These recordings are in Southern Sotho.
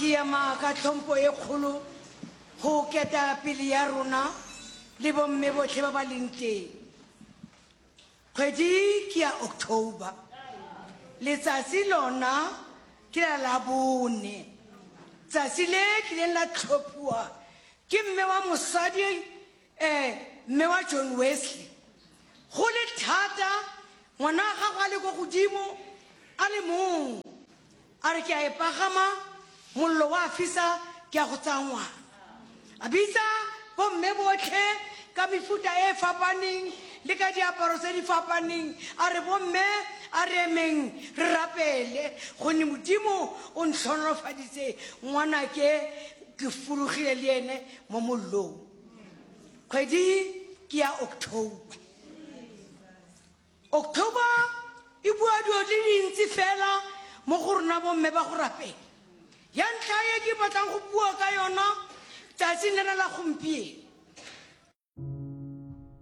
Ke ema ka tlhompho e kgolo go ketapele ya rona le bomme botlhe ba ba leng teng. Kgwedi ke ya October. Letsatsi lona ke la Labone. Tsatsi le tlileng la tlhophiwa ke mme wa mosadi eh mme wa John Wesley. Go le thata ngwana wa gagwe a le ko godimo a le mong. A re ke a e pagama, mollo wa fisa, ke a go tsaya ngwana. A bitsa bomme botlhe ka mefuta e e fapaneng le ka diaparo tse di fapaneng, a re, Bomme, a re emeng re rapele, gonne Modimo o ntlhonolofaditse ngwanake, ke fologile le ene mo mollong. Kgwedi ke ya October. October e bua dilo di dintsi fela mo go rona bomme ba go rapela. Ya ntlha e ke batlang go bua ka yona tsatsing lena la gompieno.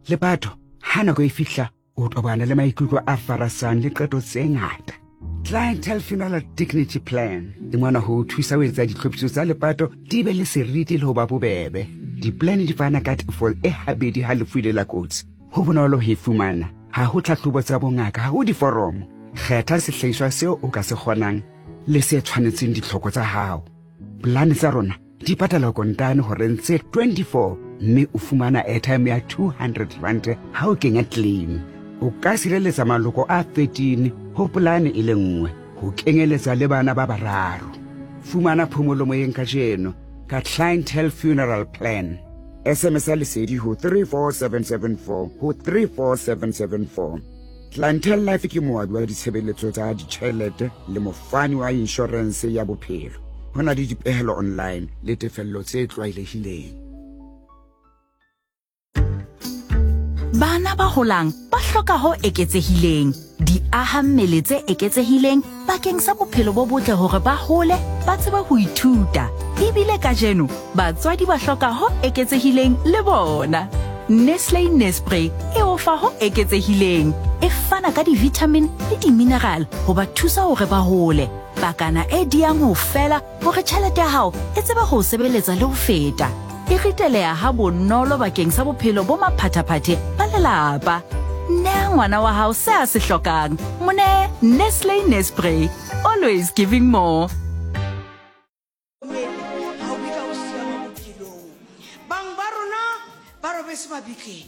Lepato, ha nako e fihla, o tobana le maikutlo a farasang le qeto tse ngata. Clientele Funeral Dignity Plan e mona ho o thusa ho etsa ditlhophiso tsa lepato di be le seriti le ho ba bobebe. Di-plan di fana ka tefo e habedi ha lefu ile la kotsi. Ho bonolo ho e fumana, ha ho tlhahlobo tsa bongaka, ha ho diforomo. Kgetha sehlahiswa seo o ka se kgonang le se tshwanetseng ditlhoko tsa hao. Polane tsa rona di patala kontane horeng tse 24 mme o fumana airtime ya 200 rand ha o kenya claim. O ka sireletsa maloko a 13 ho polane e le nngwe, ho kenyeletsa le bana ba bararo. Fumana phomolo moyeng kajeno ka Clientele Funeral Plan. SMS ya Lesedi ho 34774 ho 34774. Clientele Life ke moabi wa ditshebeletso tsa ditjhelete le mofani wa inshorense ya bophelo. Ho na le dipehelo online le tefello tse tlwaelehileng. Bana ba holang ba hloka ho eketsehileng, diaha-mmele tse eketsehileng bakeng sa bophelo bo botle hore ba hole ba tsebe ho ithuta. Ebile kajeno batswadi ba hloka ho eketsehileng le bona. Nestle Nespre e o fa ho eketsehileng, e fana ka di-vitamin le di-mineral ho ba thusa hore ba hole. Pakana e diyang ho fela Hore tjhelete ya hao e tsebe ho o sebeletsa le ho feta. E riteleha ha bonolo bakeng sa bophelo bo maphathaphathe ba lelapa. Nea ngwana wa hao se a se hlokang. Mo nee Nestle Nespre. Always giving more. Ga o kitla o siama bophelong. Bang ba rona ba robetse mabitleng,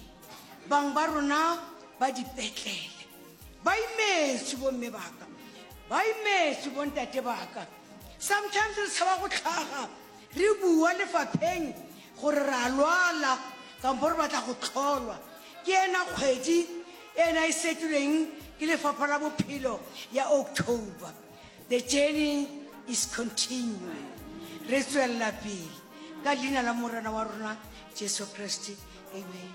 bang ba rona ba dipetlele. Ba imetswe bomme baka, ba imetswe bontate baka. Sometimes re tshaba go tlhaga re bua lefapheng gore re a lwala kampo re batla go tlholwa. Ke ena kgwedi ena e setilweng ke lefapha la bophelo ya October. The journey is continuing. Re tswelela pele ka leina la Morena wa rona Jesu Kriste. Amen.